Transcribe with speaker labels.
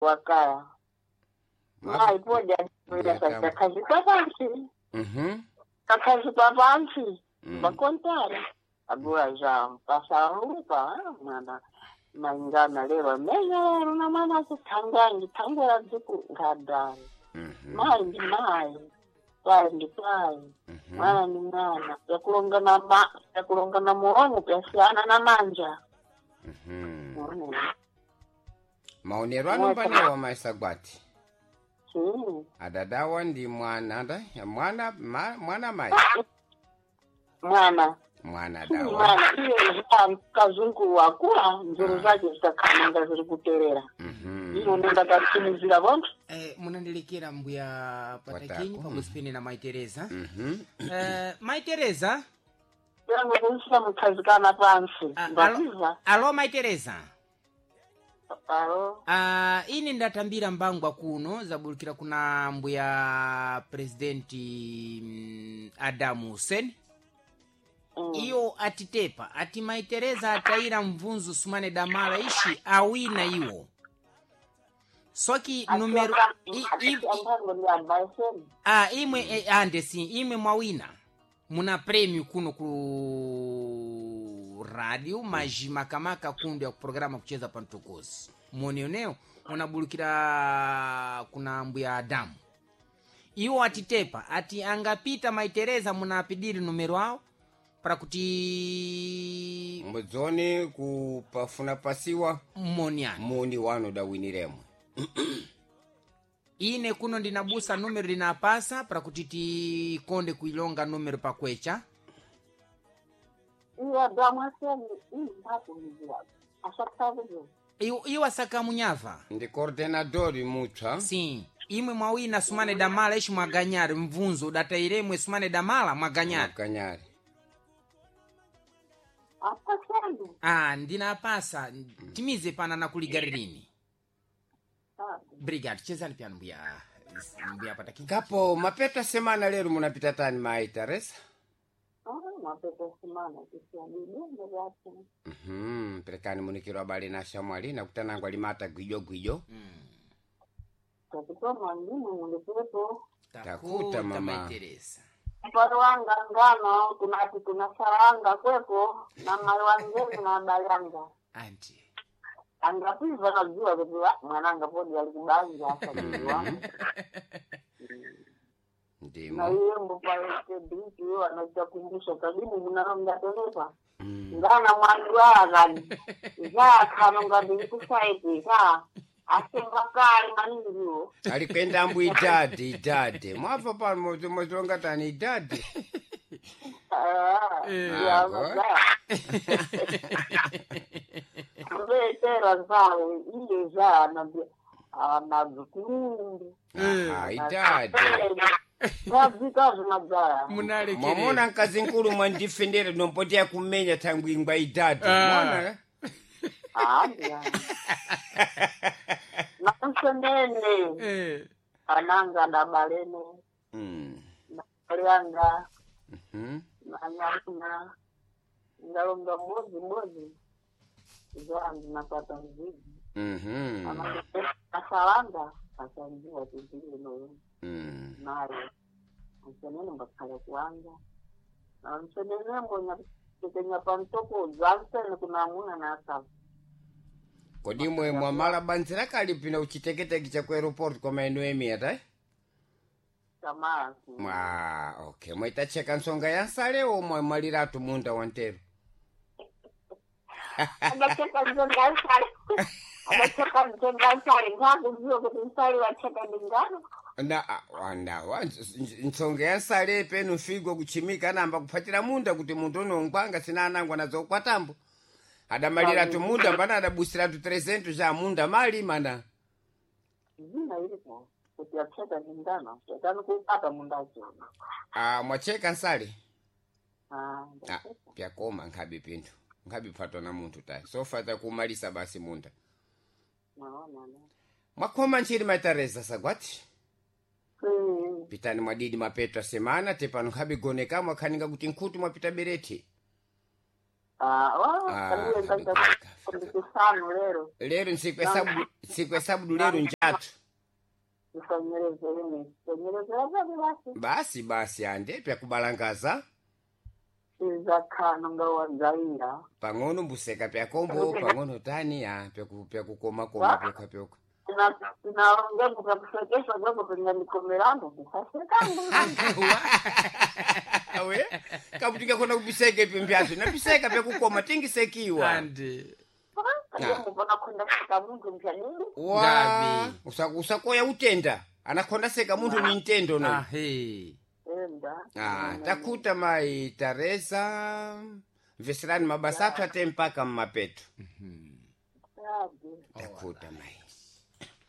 Speaker 1: Wakaya mayi poja
Speaker 2: Ndiyatamba.
Speaker 1: kakhazikwa pansi, kakhazikwa pansi bakontara agora já passarupa mwana maingana lero amenya lero na mwana akuthangangi thangwera dziku nkhadali. Mayi ndi mayi, pai ndi pai, mwana ndi mwana, vyakulongana ma vyakulongana mulomo vyasiyana na manja.
Speaker 2: Maonero anombanewa maisagwati.
Speaker 1: Sim.
Speaker 2: Adadawa ndi mwana nda mwana mwana mai.
Speaker 1: Mwana.
Speaker 2: Mwana
Speaker 1: Si
Speaker 2: dawa.
Speaker 1: mwana iye kazungu wakula nzeru zake zitakhamanga ziri kuterera. Ino ndakatsimizira vonse.
Speaker 3: Munandilekera mbuya Patakinyi
Speaker 2: Patako.
Speaker 3: pamwezi na Mai Tereza. Mai Tereza.
Speaker 1: Yangu kuisa mukhazikana pansi. Ndapiva.
Speaker 3: Alo Mai Tereza.
Speaker 1: Alo.
Speaker 3: Ine ndatambira mbangwa kuno zabulukira kuna mbuya presidenti Adamu Hussein. Iyo atitepa ati Mai Tereza atayira mvunzu sumane damala ishi awina iwo soki numero
Speaker 1: Ambango ndi ambaiseni.
Speaker 3: Imwe andesi imwe mwawina muna prêmio kuno ku radio majimakamaka kundu ya programa kucheza pantokozi monioneo unabulukira kuna mbuya Adamu. Iwo atitepa ati angapita Mai Tereza munapidiri numero awo para kuti
Speaker 2: Mudzone kupafuna pasiwa
Speaker 3: moniani
Speaker 2: muni wanu dawiniremwe.
Speaker 3: Ine kuno ndinabusa numero ndinapasa para kuti tikonde kuilonga numero pakwecha.
Speaker 1: Iye Adamu aseni imbakumizira. Asakhakuzo.
Speaker 3: Iwo asakamunyava.
Speaker 2: Ndi coordenador mutsva.
Speaker 3: Sim, imwe mwawina sumane damala ishi mwaganyari mvunzo udatairemwe sumane damala mwaganyari.
Speaker 2: Mwaganyari.
Speaker 1: Apaseni.
Speaker 3: Ndinapasa timize pana nakuligaririni. Brigade chezani pyano mbuya mbuya Patakinyi.
Speaker 2: Kapo mapeta semana lero munapita tani Mai Teresa?
Speaker 1: Mapeta simana kisiadidongo vyake.
Speaker 2: Perekani munikiro abale na shamwali nakutanangwa limata gwijo gwijo.
Speaker 1: Takutoma ndimwe mulipepo.
Speaker 2: Takuta, mama.
Speaker 3: Mai Teresa.
Speaker 1: Mparo wanga ngano kunati kunasaranga kweko na mai wangeni na bayanga.
Speaker 3: Anti
Speaker 1: Angapiva najua kuti mwananga podi alikubanja asajua. Na
Speaker 2: Ndimo.
Speaker 1: iye mbupaekediki iyo anachakumbusha kadimu munarongateleka. Ngana mwandwara kani. Zakhano ngati kusaiti za asenga kale maningiwo.
Speaker 2: Alikwenda ambu idadi idadi. Mwabva pano mozilonga tani idadi.
Speaker 1: Ah, ya
Speaker 2: Ah, go.
Speaker 1: Kuvetera zawo iye za anadzikulundu.
Speaker 2: Aha, idadi.
Speaker 1: Ngadzika zvinadzaya.
Speaker 2: Mwamona mkazi nkulu mwandifendera nompoteya kumenya thangwi ingwa idadi. Mwana eh?
Speaker 1: Haya. Namsenene ananga ndabalene nalyanga nanyamuna ngalonga mbozi mbozi zangu napata mzizi. Asalanga asanjiwa tizilinoyo nayo msenene mbakhala kuwanga na msenene mbonya tekenya pamtoko zansene kunamuna nasaba.
Speaker 2: Kodi mwe mwamala banzira kalipina uchiteketeke cha ku aeroport kwa maeno emiya tai?
Speaker 1: Tamara.
Speaker 2: Mwa okay, mwaitacheka nsonga ya nsalewo mwa mwaliratu munda wa ntero.
Speaker 1: Adacheka nzonga nsale, adacheka nzonga nsale ngakuziwa kuti nsale wacheka ndingano.
Speaker 2: Na na nsonga ya nsale penu mfigo kuchimika namba kuphatira munda kuti munthu unongwanga sina anangwa nazo kwatambo. Adamaliratu munda mbana adabusiratu 300 ja munda mali mana.
Speaker 1: Zina ilipo kuti acheka ndingano chekani kupata mundacho.
Speaker 2: Mwacheka nsale.
Speaker 1: Ah, ndacheka.
Speaker 2: Pyakoma nkhabe pinthu. Nkhabe phatwa na munthu tayi. Sofa takumalisa basi munda.
Speaker 1: Naona ne.
Speaker 2: Mwakhoma nchiri Mai Teresa sagwati. Pitani mwadidi mapetwa semana tepano nkhabe goneka mwakhaninga kuti nkhutu mwapita bereti.
Speaker 1: Ah, wa,
Speaker 2: Ah,
Speaker 1: kaliwe
Speaker 2: kabe
Speaker 1: nkaita
Speaker 2: kafe.
Speaker 1: ndikisanu lero.
Speaker 2: Lero nsiku esabudu lero njatu.
Speaker 1: Isonyerezere, isonyerezere basi basi.
Speaker 2: Basi basi ande pyakubalangaza.
Speaker 1: Izakhano ngawanzaira.
Speaker 2: Pang'ono mbuseka pyakombo pang'ono tani ya pyakukomakoma pyokha pyokha.
Speaker 1: Naongea kukakusekesha kwako pinganikomerando kusasekangu.
Speaker 2: We kabuti ngakhona kubiseka ipyo mpyazo nabiseka pyakukoma tingisekiwa.
Speaker 3: Andi.
Speaker 1: Mupona khonda seka muntu mpyanini.
Speaker 2: Wa
Speaker 3: Ngavi.
Speaker 2: usakoya utenda anakhonda seka munthu ni ntendo no.
Speaker 3: Ahe.
Speaker 1: Enda.
Speaker 2: Ah, takuta mai Teresa mveserani mabasa athu ate mpaka mmapeto.
Speaker 1: Sabe.
Speaker 2: Takuta mai.